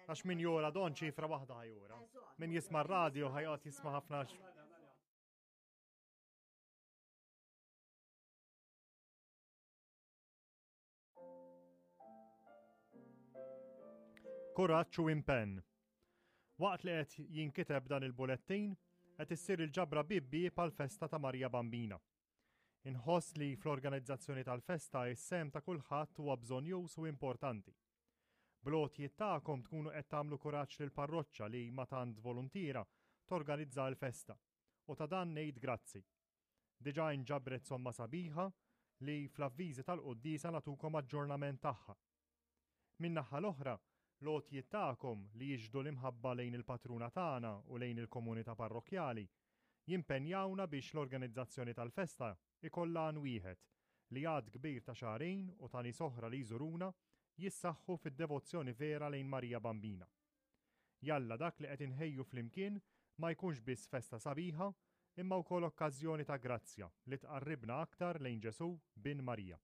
Għax min jora don ċifra waħda ħajura. Min jisma' radio ħajqgħod jisma' ħafna Kuraġġ u impenn. Waqt li qed jinkiteb dan il-bulettin, qed issir il-ġabra bibbi għall-festa ta' Marija Bambina. Inħoss li fl-organizzazzjoni tal-festa is-sehem ta' kulħadd huwa bżonnjuż u importanti. Bl-għotjiet tagħkom tkunu qed tagħmlu kuraġġ lill-parroċċa li ma' tant voluntiera torganizza l-festa. U ta' dan ngħid grazzi. Diġà inġabret somma sabiħa li fl-avviżi tal-quddiesa nagħtukom aġġornament tagħha. Min-naħa l-oħra, l-għotjiet tagħkom li jixhdu l-imħabba lejn il-patruna tagħna u lejn il-komunità parrokkjali, jimpenjawna biex l-organizzazzjoni tal-festa jkollha għan wieħed, li għadd kbir ta' xagħrin u ta' nies oħra li jżuruna jissaħħu fid-devozzjoni vera lejn Marija Bambina. Jalla dak li qed inħejju flimkien ma jkunx biss festa sabiħa, imma wkoll okkażjoni ta' grazzja li tqarribna aktar lejn Ġesù, Bin Marija.